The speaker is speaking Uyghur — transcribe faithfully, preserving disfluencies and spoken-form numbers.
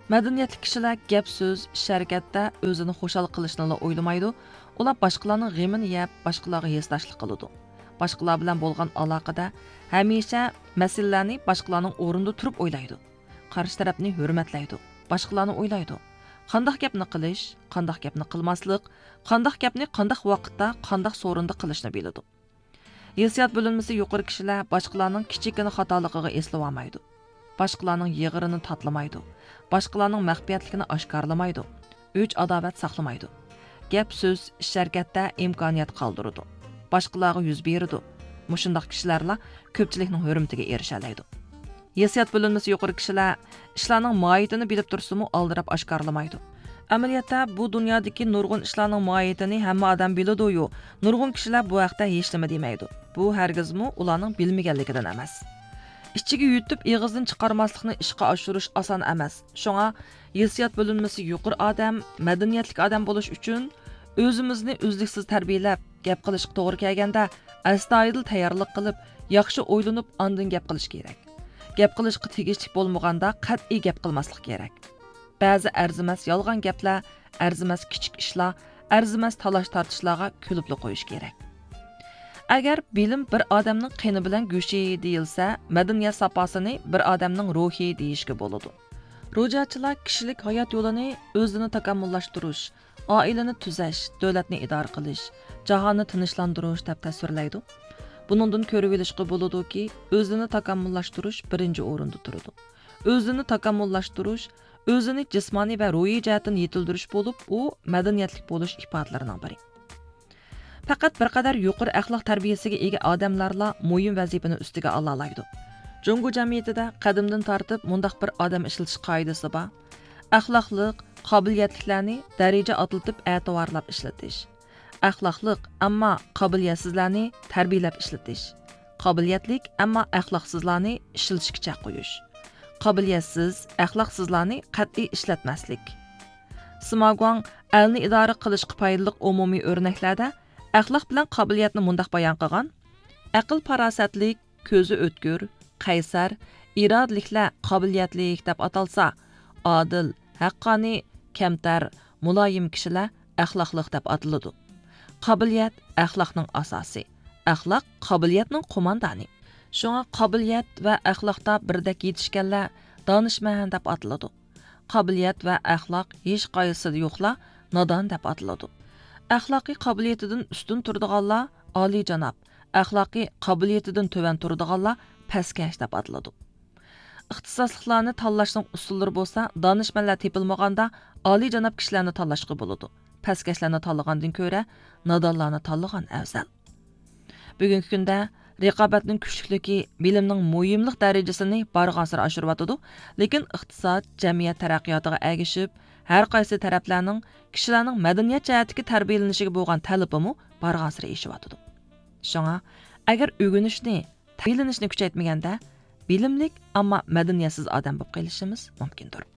مەدەنىيەتلىك كىشىلەر گەپ-سۆز، ئىش-ھەرىكەتتە ئۆزىنى خۇشال قىلىشنىلا ئويلىمايدۇ، ئۇلار باشقىلارنىڭ غېمىنى يەپ، باشقىلارغا ھېسداشلىق قىلىدۇ. باشقىلار بىلەن بولغان ئالاقىدە ھەمىشە مەسىلىلەرنى باشقىلارنىڭ ئورنىدا تۇرۇپ ئويلايدۇ. قارشى تەرەپنى ھۆرمەتلەيدۇ، باشقىلارنى ئويلايدۇ. قانداق گەپنى قىلىش، قانداق گەپنى قىلماسلىق، قانداق گەپنى قانداق ۋاقىتتا، قانداق سورۇندا قىلىشنى بىلىدۇ. ھېسسىيات بۆلۈنمىسى يۇقىرى كىشىلەر باشقىلارنىڭ كىچىككىنە خاتالىقىغا ئېسىلىۋالمايدۇ. باشقىلارنىڭ يىغىرىنى تاتلىمايدۇ. باشقىلارنىڭ مەخپىيەتلىكىنى ئاشكارىلىمايدۇ. ئۆچ-ئاداۋەت ساقلىمايدۇ. گەپ-سۆز، ئىش-ھەرىكەتتە ئىمكانىيەت قالدۇرىدۇ. باشقىلارغا يۈز بېرىدۇ. مۇشۇنداق كىشىلەرلا كۆپچىلىكنىڭ ھۆرمىتىگە ئېرىشەلەيدۇ. ھېسسىيات بۆلۈنمىسى يۇقىرى كىشىلەر ئىشلارنىڭ ماھىيىتىنى بىلىپ تۇرسىمۇ ئالدىراپ ئاشكارىلىمايدۇ. ئەمەلىيەتتە، بۇ دۇنيادىكى نۇرغۇن ئىشلارنىڭ ماھىيىتىنى ھەممە ئادەم بىلىدۇ-يۇ، نۇرغۇن كىشىلەر بۇ ھەقتە ھېچنېمە دېمەيدۇ. بۇ ھەرگىزمۇ ئۇلارنىڭ بىلمىگەنلىكىدىن ئەمەس. ئىچىگە يۇتۇپ ئېغىزدىن چىقارماسلىقنى ئىشقا ئاشۇرۇش ئاسان ئەمەس. شۇڭا ھېسسىيات بۆلۈنمىسى يۇقىرى ئادەم، مەدەنىيەتلىك ئادەم بولۇش ئۈچۈن ئۆزىمىزنى ئۈزلۈكسىز تەربىيەلەپ، گەپ قىلىشقا توغرا كەلگەندە ئەستايىدىل تەييارلىق قىلىپ، ياخشى ئويلىنىپ ئاندىن گەپ قىلىش كېرەك. گەپ قىلىشقا تېگىشلىك بولمىغاندا قەتئىي گەپ قىلماسلىق كېرەك. بەزى ئەرزىمەس يالغان گەپلەر، ئەرزىمەس كىچىك ئىشلار، ئەرزىمەس تالاش-تارتىشلارغا كۈلۈپلا قويۇش كېرەك. ئەگەر بىلىم بىر ئادەمنىڭ قېنى بىلەن گۆشى دېيىلسە، مەدەنىيەت ساپاسىنى بىر ئادەمنىڭ روھى دېيىشكە بولىدۇ. روجاچىلار كىشىلىك ھايات يولىنى ئۆزىنى تاكامۇللاشتۇرۇش، ئائىلىنى تۈزەش، دۆلەتنى ئىدارە قىلىش، جاھاننى تىنچلاندۇرۇش دەپ تەسۋىرلەيدۇ. بۇنىڭدىن كۆرۈۋېلىشقا بولىدۇكى، ئۆزىنى تاكامۇللاشتۇرۇش بىرىنچى ئورۇندا تۇرىدۇ. ئۆزىنى تاكامۇللاشتۇرۇش، ئۆزىنى جىسمانىي ۋە روھىي جەھەتتىن يېتىلدۈرۈش بولۇپ، ئۇ مەدەنىيەتلىك بولۇش ئىپادىلىرىنىڭ بىرى. پەقەت بىر قەدەر يۇقىرى ئەخلاق تەربىيەسىگە ئىگە ئادەملەرلا مۇھىم ۋەزىپىنى ئۈستىگە ئالالايدۇ. جۇڭگو جەمئىيىتىدە قەدىمدىن تارتىپ مۇنداق بىر ئادەم ئىشلىتىش قائىدىسى بار. ئەخلاقلىق، قابىلىيەتلىكلەرنى دەرىجە ئاتلىتىپ ئەتىۋارلاپ ئىشلىتىش. ئەخلاقلىق، ئەمما قابىلىيەتسىزلەرنى تەربىيەلەپ ئىشلىتىش. قابىلىيەتلىك، ئەمما ئەخلاقسىزلارنى ئىشلىتىشكە چەك قويۇش. قابىلىيەتسىز، ئەخلاقسىزلارنى قەتئىي ئىشلەتمەسلىك. سىما گۇاڭ ئەلنى ئىدارە قىلىشقا پايدىلىق ئومۇمىي ئۆرنەكلەردە ئەخلاق بىلەن قابىلىيەتنى مۇنداق بايان قىلغان: ئەقىل-پاراسەتلىك، كۆزى ئۆتكۈر، قەيسەر، ئىرادىلىكلەر قابىلىيەتلىك دەپ ئاتالسا، ئادىل، ھەققانىي، كەمتەر، مۇلايىم كىشىلەر ئەخلاقلىق دەپ ئاتىلىدۇ. قابىلىيەت ئەخلاقنىڭ ئاساسى، ئەخلاق قابىلىيەتنىڭ قوماندانى. شۇڭا قابىلىيەت ۋە ئەخلاقتا بىردەك يېتىشكەنلەر دانىشمەن دەپ ئاتىلىدۇ. قابىلىيەت ۋە ئەخلاق ھېچقايسىسىدا يوقلار نادان دەپ ئاتىلىدۇ. ئەخلاقىي قابىلىيىتىدىن ئۈستۈن تۇرىدىغانلار ئالىيجاناب، ئەخلاقىي قابىلىيىتىدىن تۆۋەن تۇرىدىغانلار پەسكەش دەپ ئاتىلىدۇ. ئىختىساسلىقلارنى تاللاشنىڭ ئۇسۇللىرى بولسا دانىشمەنلەر تېپىلمىغاندا ئالىيجاناب كىشىلەرنى تاللاشقا بولىدۇ. پەسكەشلەرنى تاللىغاندىن كۆرە نادانلارنى تاللىغان ئەۋزەل. بۈگۈنكى كۈندە رىقابەتنىڭ كۈچلۈكلۈكى بىلىمنىڭ مۇھىملىق دەرىجىسىنى بارغانسېرى ئاشۇرۇۋاتىدۇ، لېكىن ئىقتىساد، جەمئىيەت تەرەققىياتىغا ئەگىشىپ، ھەر قايسى تەرەپلەرنىڭ كىشىلەرنىڭ مەدەنىيەت جەھەتتىكى تەربىيەلىنىشىگە بولغان تەلىپىمۇ بارغانسېرى ئېشىۋاتىدۇ. شۇڭا، ئەگەر ئۆگىنىشنى، تەربىيەلىنىشنى كۈچەيتمىگەندە، بىلىملىك، ئەمما مەدەنىيەتسىز ئادەم بولۇپ قېلىشىمىز مۇمكىندۇر.